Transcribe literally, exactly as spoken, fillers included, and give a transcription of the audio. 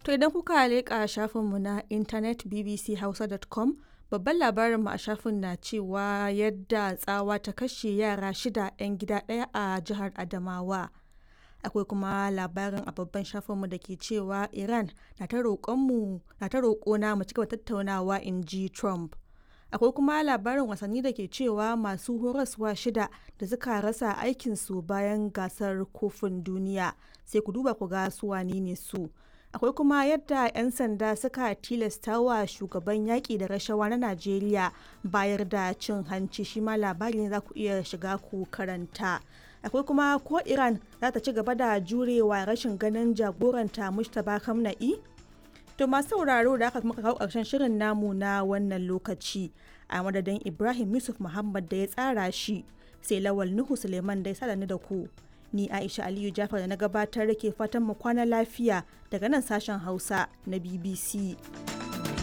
To idan kuka leƙa shafinmu na intanet bbchausa dot com, babban labarinmu a shafin na cewa yadda tsawa ta kashe yara shida 'yan gida ɗaya a jihar Adamawa. Akwai kuma labarin a babban shafinmu da ke cewa Iran na ta roƙona mu cigaba tattaunawa, in ji Trump. Akwai kuma labarin wasanni da ke cewa masu horaswa shida da suka rasa aikinsu bayan gasar kofin duniya, sai ku duba ku ga su wane ne su. Akwai kuma yadda 'yan sanda suka tilasta wa shugaban yaƙi da rashawa na Najeriya bayar da cin hanci, shi ma labari ne za ku iya shiga ku karanta. Akwai kuma ko Iran za ta ci gaba da jurewa rashin ganin jagoranta Mustapha Khamenei. To masu sauraro, da aka muka kawo ƙarshen shirin namu na wannan lokaci, a madadin Ibrahim Yusuf Muhammad da ya tsara shi, sai Lawal Nuhu Suleiman da ya sada ni da ku. Ni Aisha Aliyu Jafar da na gabatar ke fatan mu kwana lafiya daga nan sashen Hausa na B B C.